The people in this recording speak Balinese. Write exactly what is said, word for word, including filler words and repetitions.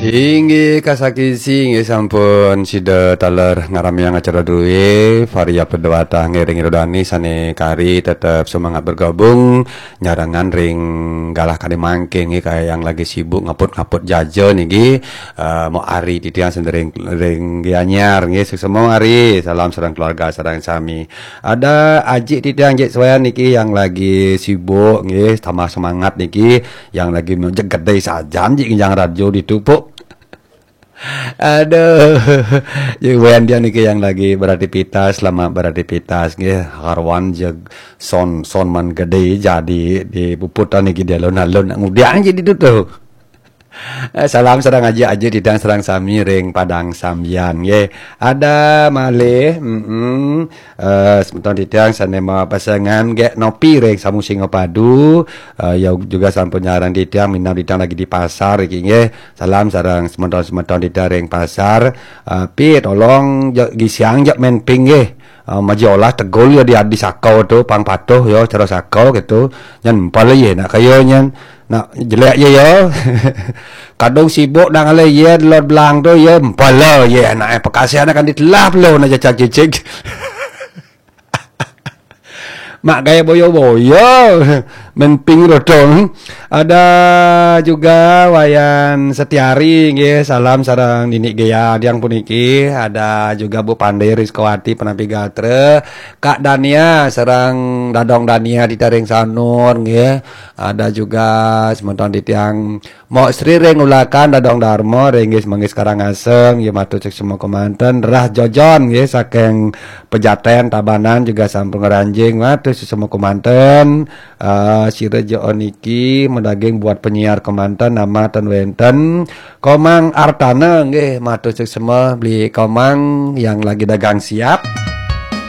Inggih kasakisi, inggih sampun sida taler ngaramiang acara druwe Varia Pedewata ngiring Rodani sane kari tetep semangat bergabung nyarengan ring galah kadi mangke nggih, kaya yang lagi sibuk ngaput-ngaput jaja niki. Eh, mau Ari titiang sendering ring Gianyar nggih, suksema Ari, salam sareng keluarga sareng sami. Ada Aji titiang Jik Suan niki yang lagi sibuk nggih, tambah semangat niki, yang lagi mejek gede sajan Jik nginjang radio ditupuk. Aduh, ya Wendian niki yang lagi beraktivitas, selamat beraktivitas nggih. Harwan jeg son son man gede jadi di puputan niki di alun-alun ngudiang jadi tuh. Eh, salam sareng aja aja titiang sareng sami ring Padang Sambian nggih. Ada malih, mm eh, semeton titiang sane mapasengan gek nopi ring Samu Singapadu. Eh, ya juga sampun nyarang titiang, minab titiang lagi di pasar iki nggih. Salam sareng semeton-semeton titiang ring pasar. Eh, pi tolong ja, gisiang ja main ping nggih. Eh, maji olah tegul ya di, di sakau tu, pang patuh ya cara sakau gitu. Nyen empal ye nak kaya nyen. Nak jelek je ya. Kadung sibuk nak ngalih ye lot belang tu ye empal ye nak, eh, pekasihan akan ditelah belum nak cacak cicik. Mak gaya boyo-boyo. Main ping rodong. Ada juga Wayan Setiari nggih, salam sareng Nini Gaya diang puniki. Ada juga Bu Pandai Rizkawati Penapi Gatra, Kak Dania sareng Dadong Dania di Taring Sanur nggih. Ada juga semeton titiang Mok Sri ring Ulakan, Dadong Darmo ring Gis Manggis Karangasem, ya matur suksma kemanten. Rah Jojon nggih saking Pejaten Tabanan juga sampun ngranjing, matur suksma kemanten. Eh, sira jo niki medaging buat penyiar kemanten, nama ten wenten. Komang Artana nggih, matur suksma beli Komang yang lagi dagang siap.